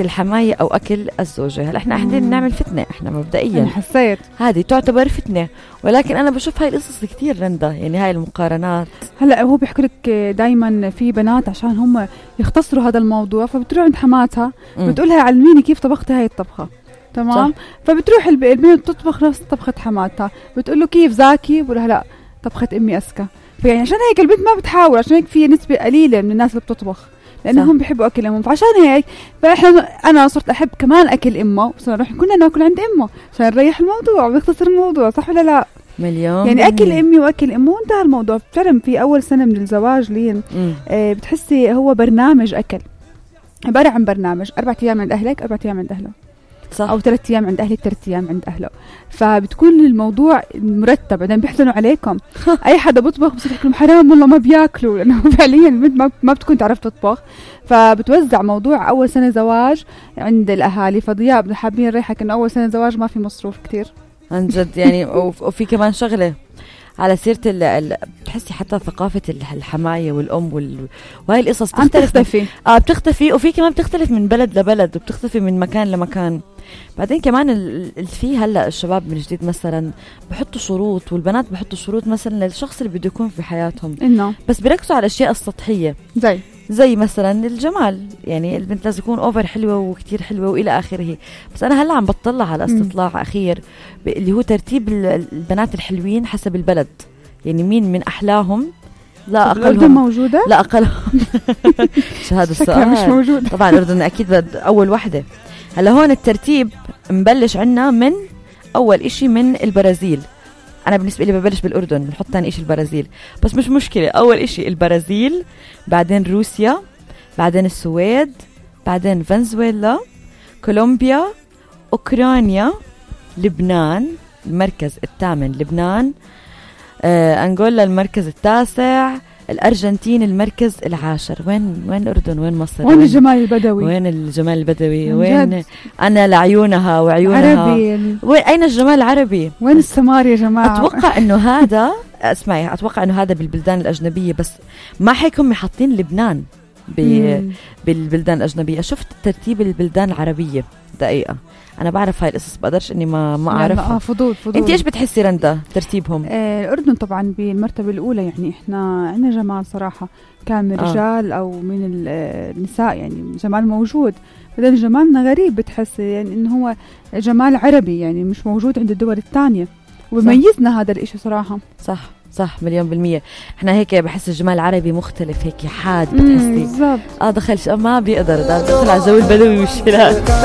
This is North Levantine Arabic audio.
الحماية أو أكل الزوجة. هلا إحنا قاعدين نعمل فتنة، إحنا مبدئيا أنا حسيت هذه تعتبر فتنة، ولكن أنا بشوف هاي القصص كتير رندا، يعني هاي المقارنات. هلا هو بيحكي لك دايما في بنات عشان هم يختصروا هذا الموضوع فبتروح عند حماتها بتقولها علميني كيف طبختي هاي الطبخة، تمام؟ فبتروح البنت تطبخ نفس طبخة حماتها، بتقول له كيف ذاكي؟ بقولها لا طبخة أمي أذكى. فيعني عشان هيك البنت ما بتحاول، عشان هيك في نسبة قليلة من الناس اللي بتطبخ لأنهم بيحبوا أكل أمهم، فعشان هيك أنا صرت أحب كمان أكل أمه، وصرنا نروح كلنا ناكل عند أمه عشان نريح الموضوع ونختصر الموضوع، صح ولا لا؟ مليون يعني أكل أمي وأكل أمه وانتهى الموضوع. فعلا في أول سنة من الزواج لين بتحسي هو برنامج أكل، عبارة عن برنامج 4 أيام عند أهلك 4 أيام عند أهله، صح. أو 3 أيام عند أهلك 3 أيام عند أهله، فبتكون الموضوع مرتب. بعدين بيحزنوا عليكم أي حدا بيطبخ بصير يحكي لهم حرام والله ما بياكلوا، لأنه فعليا البنت ما بتكون تعرف تطبخ. فبتوزع موضوع أول سنة زواج عند الأهالي. فضياء حابين نريحك إنه أول سنة زواج ما في مصروف كتير عن جد يعني. وفي كمان شغلة على سيرة بتحسي حتى ثقافة الحماية والأم وهاي القصص بتختفي. وفي كمان بتختلف من بلد لبلد وبتختفي من مكان لمكان. بعدين كمان في هلا الشباب من جديد مثلا بحطوا شروط، والبنات بحطوا شروط مثلا للشخص اللي بده يكون في حياتهم، إنه بس بيركزوا على الأشياء السطحية زي مثلا الجمال. يعني البنت لازم تكون اوفر حلوة وكتير حلوة وإلى آخره. بس أنا هلا عم بطلع على استطلاع أخير اللي هو ترتيب البنات الحلوين حسب البلد، يعني مين من أحلاهم لا أقلهم موجودة لا أقلهم شو هذا السؤال؟ مش موجود طبعا الأردن أكيد أول وحدة. هلا هون الترتيب مبلش عنا من أول إشي من البرازيل. أنا بالنسبة لي ببلش بالأردن، بنحط ثاني إشي البرازيل، بس مش مشكلة. أول إشي البرازيل، بعدين روسيا، بعدين السويد، بعدين فنزويلا، كولومبيا، أوكرانيا، لبنان المركز 8 لبنان، أنغولا المركز 9، الأرجنتين المركز 10. وين الأردن؟ وين مصر؟ وين الجمال البدوي؟ وين الجمال البدوي؟ وين أنا لعيونها وعيونها عربي؟ وين أين الجمال العربي؟ وين السمار يا جماعة؟ أتوقع إنه هذا اسمعي، أتوقع إنه هذا بالبلدان الأجنبية، بس ما حيكون محطين لبنان بالبلدان الأجنبية. شفت ترتيب البلدان العربية دقيقة، أنا بعرف هاي القصص، بقدرش إني ما أعرفها. فضول. أنت إيش بتحسي رندا ترتيبهم؟ الأردن طبعا بالمرتبة الأولى، يعني إحنا عندنا جمال صراحة، كان من الرجال أو من النساء، يعني جمال موجود. بدل جمالنا غريب بتحسي يعني إنه هو جمال عربي، يعني مش موجود عند الدول الثانية، وبيميزنا هذا الإشي صراحة. صح 100%. احنا هيك بحس الجمال العربي مختلف، هيك حاد بتحسي بالضبط. دخل ما بيقدر دخل على جو البدوي والشلال.